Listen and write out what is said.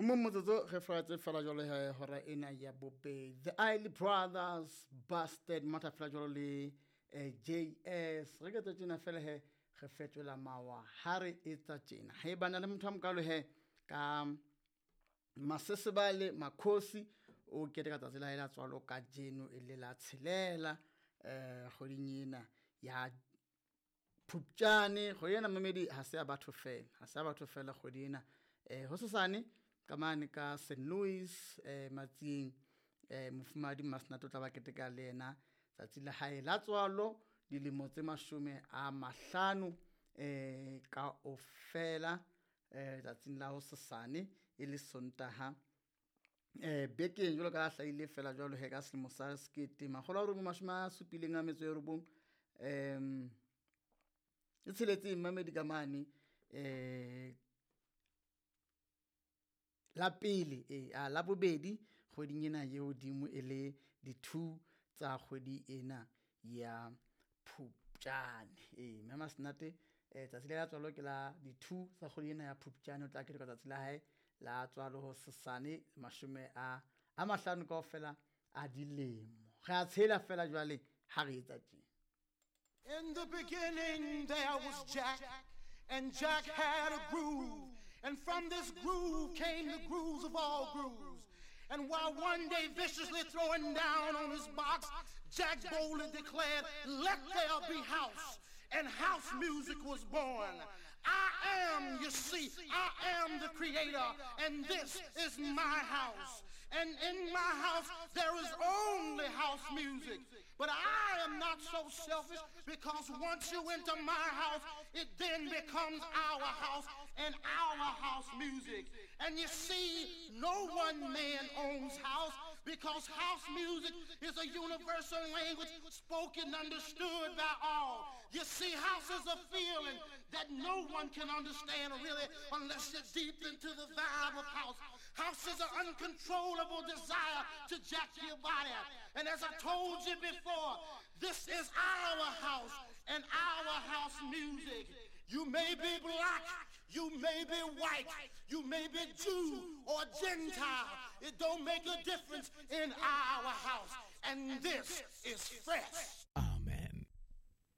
Mo motsotso re fratse fela jwalo he hora ena ya bobedi. The Isley Brothers, Busted, matha fela jwalo le JS. Re ke tjena fela he re fetola mawa ha re etsa tjena. Ha e bana le motho a mokalo he ka Masesebale Makhosi o keteka tsatsi la hae la tswalo kajeno e le la tshelela kgweding ena ya Phupjane. Kgwedi ena mamedi ha se ya batho fela, ha se ya batho fela kgwedi ena. Hosasane ka mane ka St Louis Matsieng, mofumahadi Masinato o tla ba keteka le yena tsatsi la hae la tswalo, dilemo tse 50 kaofela, tsatsing la hosasane e le Sontaha bekeng jwalo ka hlahile fela jwalo he ka selemo sa 1979 e tsheletseng mamedi ka mane la pele la bobedi kgweding ena ye hodimo e le di 2 tsa kgwedi ena ya Phupjane. Mme Masenate tsatsi la tswalo ke la di 2 tsa kgwedi ena ya Phupjane, o tla keteka tsatsi la hae la tswalo hosasane 50 kaofela a dilemo. Re a tshela fela jwale ha re etsa tje. In the beginning there was Jack, and Jack had a groove, and from this groove came the grooves of all grooves. And while one day viciously throwing down on his box, Jack boldly declared, let there be house. And house music was born. I am, you see, I am the creator, and this is my house. And in my house, there is only house music. But I am not so selfish, because once you enter my house, it then becomes our house and our house music. And you see, no one man owns house, because house music is a universal language spoken, understood by all. You see, house is a feeling that no one can understand really unless you're deep into the vibe of house. House is an uncontrollable desire to jack your body. And as I told you before, this is our house and our house music. You may be black, you may be white, you may be Jew or Gentile. It don't make a difference in our house. And this is fresh.